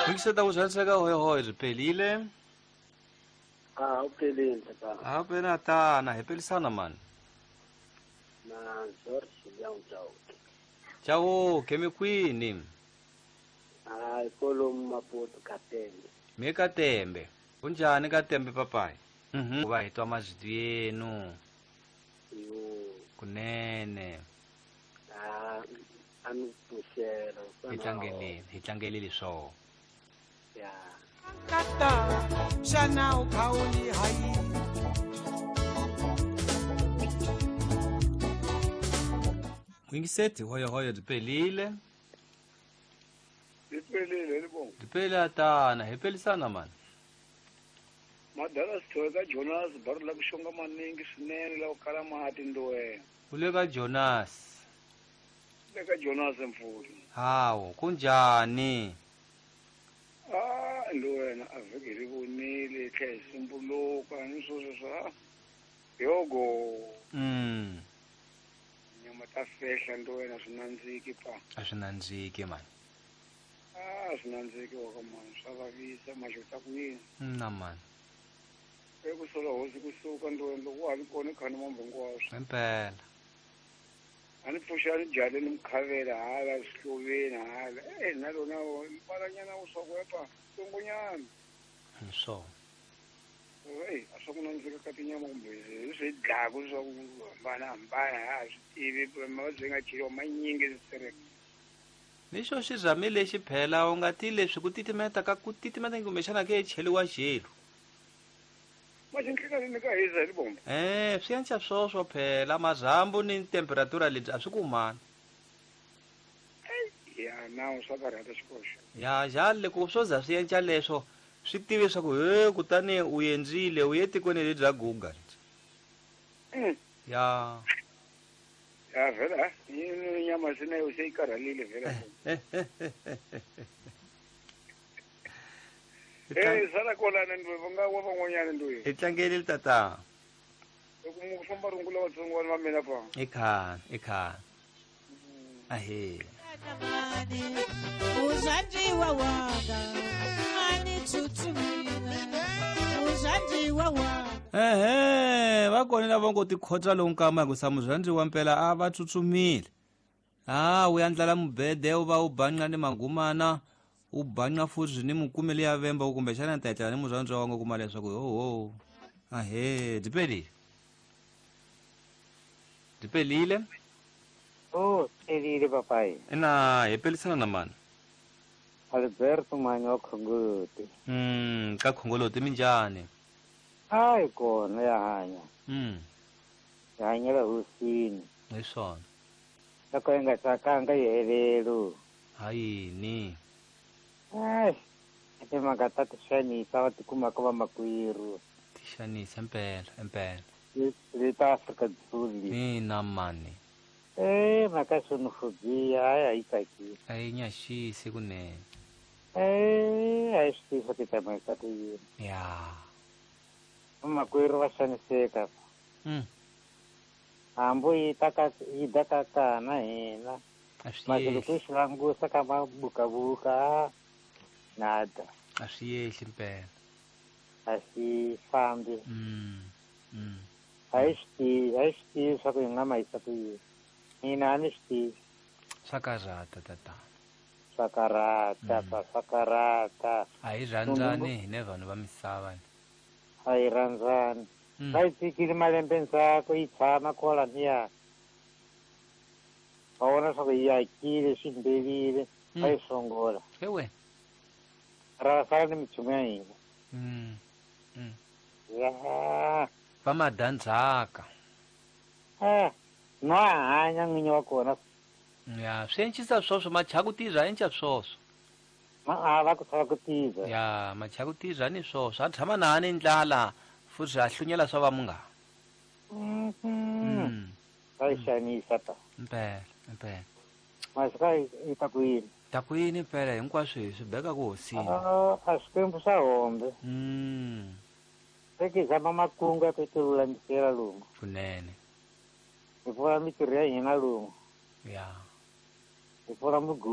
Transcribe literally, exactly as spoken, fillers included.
Mikiseta ku zwaniseka hoyohoyo byi pelile. Ah, uphelile tata. A pena tana hi pelisana mani. Na George Chauke. Chauke mi kwini? Ah, ikolo Maputo Katembe. Mi Katembe. Kunjani Katembe papai? Mhm. Va hi twa mazwi yenu. Yo. Kunene. Ah, ami puxela. Hi tlangelile, hi tlangelile swo. Ya. Kata xana u khawuli hayi. Mwingiseti hoyo hoyo byi pelile. Byi pelile libongo. Byi pelile tana, hi pelisana mani. Madala sithowe ka Jonas bari la ku xonga maningi swinene la ku kala mati ndowe. U le ka Jonas. Le ka Jonas mfuli. Hawu, kunjani? Ah, ndowe a vhiki ri vonile tlhe hi sumbuluka ni sweswo swa yogo. Mm. Nyama ta fehla ndowe swi nandziki pa. A swi nandziki mani. Ah, swi nandziki wa ka mani swa vavisa maxota ku yini. Na mani. Eku sola hosi kusuka ndowe loko wa ha ri kona khani mambo hinkwaswo. Impela. A ni pfuxa ni jale ni mukhavela hala swihluveni hala. Eh na lona balanyana u swa ku epa tsongonyana. Hi swona. Eh a swa ku nandzika ka tinyama kumbe swi dlaku swa ku hambana hambana ha swi tivi mavabyi nga cheliwa manyingi swi Ni xo xirhami lexi phela u nga ti leswi ku titimeta ka ku titimeta kumbexana ke cheliwa xelu. Eh, swi anca swoswo phela marhambu ni temperatura lebyi a swi kumani. Ya na swa karhata xikoxo. Ya jale ku swo za swi enca leswo swi tivi swa ku he kutani u endlile u ye tikweni lebyi bya Google. Mm. Ya. Ya vela, ni nyama sina yo se yi karhalile vela. Eh, sala kolana ndwe va wa van'wanyana ndwe. Hi tlangelile tata. Loko mu famba rungula vatsongwana va mina pa. I khani, i khani. Ahe. Uzanjiwa wanga, ani tsutsumile. Uzanjiwa wanga. Ehe, va kona lava ngo tikhotsa lowu nkama hi ku sa muzanjiwa mpela a va tsutsumile. Ah, u yandlala mubede u va u banqa ni magumana. U banqa futhi ni mukumeli ya vemba kumbexana ta etlela ni muzandzwa wa ngo kuma leswaku ho ho. Ahe, byi pelile. Byi pelile. Oh, pelile papai. Ina hi pelisana na mani? Alberto Manyo wa Khongoloti. Mm, ka Khongoloti minjhani? Hayi kona ya hanya. Mm. Ya hanyela hosini. Hi swona. Loko yi nga tsakanga yi helelu. Hayini? Ai, timhaka ta tixanisa va tikumaka va makwerhu. Tixanisa impela, impela. Le ta Afrika-Dzonga. Mina mani. Eh, mhaka xenophobia hayi a yi tsakisi. A yi nyaxisi kunene. Eh, a yi swi tivi swa ti tsamisa ku yini. Ya. Vamakwerhu va xaniseka. Mm. Hambi yi ta ka yi da ka kana hina. A swi Masi loko yehli. yi swi langusa ka mabukabuka nada. A swi yehli mpela. A swi fambi. Mm. Mm. A yi swi tivi, a yi swi tivi swa ku yi nga ma yisa ku yini. Mina a ni swi tivi. Swa karhata tatana. Swa karhata, Mm. swa swa karhata. A hi rhandzani hine vanhu va misava. A hi rhandzani. Mm. Va yi tshikile malembe ndzhaku yi tshama kwalaniya. Va vona swa ku yi akile swi mbelile va yi songola. Ewe. Ra sala ni minchumu ya hina. Mm. Mm. Ya. Va madandzhaka. Eh, no hanya n'winyi wa kona. Ya, swi encisa swoswo machaku tirha enca swoswo. Ma a va ku sala ku tirha. Ya, machaku tirha ni swoswo a tshama na ni ndlala futhi a hlunyela swa va munghana. Mhm. Mm. Va yi xanisa ta. Mpela, mpela. Masika yi ta ku yini? Ta ku yini mpela hinkwaswo hi swi beka ku hosini. Ah, a Xikwembu xa hombe. Mm. Se ki zama makungu ya ku ti lulamisela lomu. Kunene. Hi pfula mintirho ya hina lomu. Ya. Hi pfula mugodi.